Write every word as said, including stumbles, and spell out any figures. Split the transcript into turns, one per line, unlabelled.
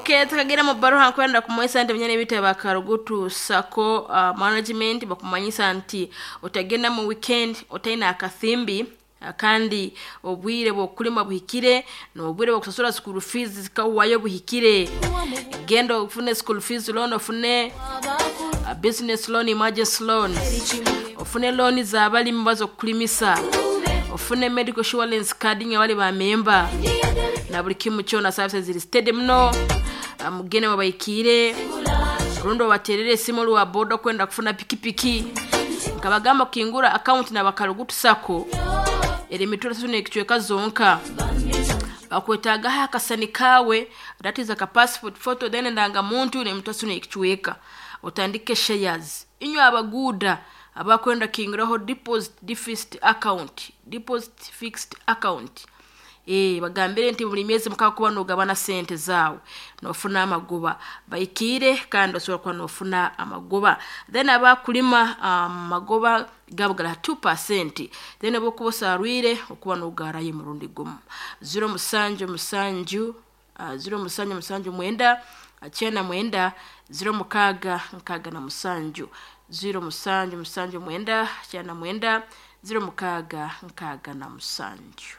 Okay, tukagenda mu baruha nkwenda kumanyisa nti binyana ebita bakarugutu sako uh, management bakumanyisa nti otagenda mu weekend otaina akathimbi uh, kandi obwire bw'okulima buhikire n'obwire bw'okusasura school fees zikawayo buhikire. Genda ofune school fees loan, ofune uh, business loan, emergency loan, ofune loan z'abalimi bazokulimisa, ofune medical insurance card nga bali bamemba na buli kimu kyona. Services ziri steady muno. Ah, mugende babaikire rundi obaterere esimu lwa boda kwenda kufuna pikipiki. Nkabagamba kukingura account na bakarugutu sako eri emitwaro esatu n'ekicweka zonka. Bakwetagaho akasani kawe, that is aka passport photo, then endangamuntu n'emitwaro esatu n'ekicweka, otandike shares. Inywe abaguuda abakwenda kinguraho deposit deficit account, deposit fixed account, eh bagambire nti buli myezi mukaaga kuba nogabana sente zaawe nofuna amagoba. Baikire kandi osobola kuba nofuna amagoba. Then abakulima amagoba gabo gara two percent, then obukuba osarwire okuba nogarayo murundi gumu. Zero musanju musanju uh, zero musanju musanju mwenda kyenda mwenda zero mukaaga nkaaga na musanju, zero musanju musanju mwenda kyenda mwenda zero mukaaga nkaaga na musanju.